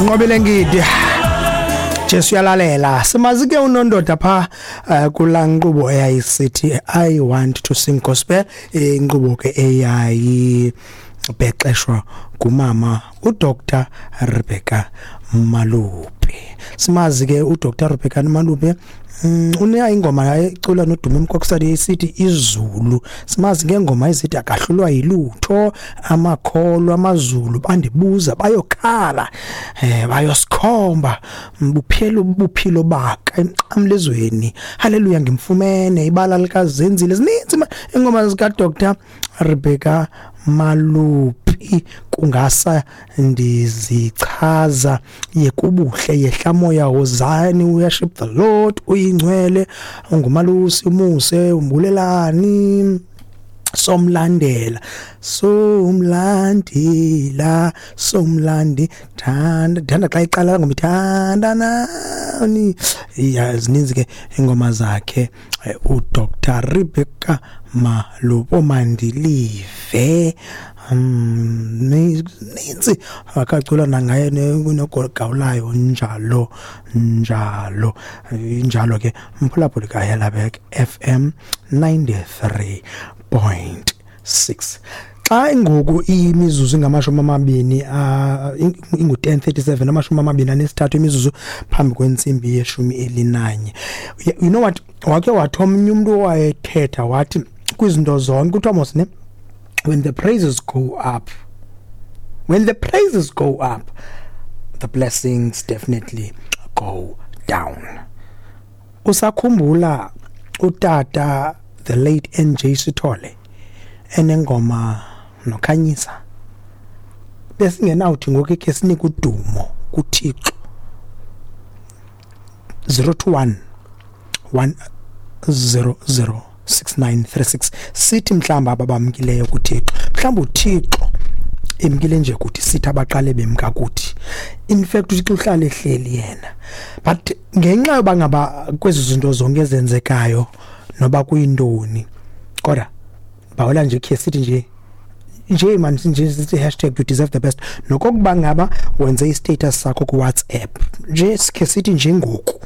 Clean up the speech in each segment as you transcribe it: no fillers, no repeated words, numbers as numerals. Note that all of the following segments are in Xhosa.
Nqobile Ngidi, Jesu uyalalela. Simazi ke unondoda pha kulaa nkqubo eyayisithi "I Want to Sing Gospel", inkqubo ke eyayibhexeshwa ngumama uDr Rebecca Malupe. Simazi ke uDr Rebecca Malupe, uneya ingoma ecula noDumi Mkokstad esithi "Izulu". Simazi ngengoma ezithi "Akahlulwa Yilutho", "Amakholwa", "Amazulu", "Bandibuza", "Bayokhala", "Bayosikhomba", "Buphelo Buphilo Baka", "Emnqamlezweni", "Haleluya Ngimfumene", "Ibala Likazenzile". Zininzi ingoma zika Dr Rebecca Malupi. "Kungasa Ndizichaza", "Yekubuhle", "Yehla Moya", "Wozani", "Worship the Lord", "Uyingcwele", "Ungumalusi", "Umuse", "Umbulelani", "Somlandela", "Somlandela", "Somlandi", "Thanda Thanda", xa iqala ngoma "Thanda Nani". Ya, zininzi ke ingoma zakhe uDr Rebecca Malupo. "Mandilive", ninzi akacula nangaye nogawulayo, njalo njalo. Injalo ke, mphulaphuli kaHelabek FM 93.6. Xa ngoku imizuzu ingamashumi amabini, ingu-10:37, 23 imizuzu phambi kwentsimbi ye-11. You know what, wake wathi omnye umntu owayethetha, wathi kwizinto zonke kuthiwa mos ne, when the praises go up, when the praises go up, the blessings definitely go down. Usakhumbula utata, the late NJ Sithole, enengoma noKhanyisa? Besingenawuthi ngoku ke sinike udumo kuThixo. 021 100 6936. Sithi mhlamba ababamkileyo kuThixo, mhlawumbi uThixo emkile nje kuthi, sithi abaqale bemka kuthi. In fact, uThixo uhlala ehleli yena, but ngenxa yoba ngaba kwezi zinto zonke ezenzekayo, noba kuyintoni, kodwa bawela nje khe sithi nje nje man, nje sithi #YouDeserveTheBest. Nokokuba ngaba wenze i-status sakho ku-WhatsApp nje, sikhe sithi nje ngoku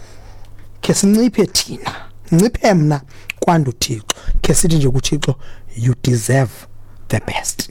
khe sinciphe thina, nciphe mna kwandu Thixo, khe sithi nje kuThixo, "You deserve the best."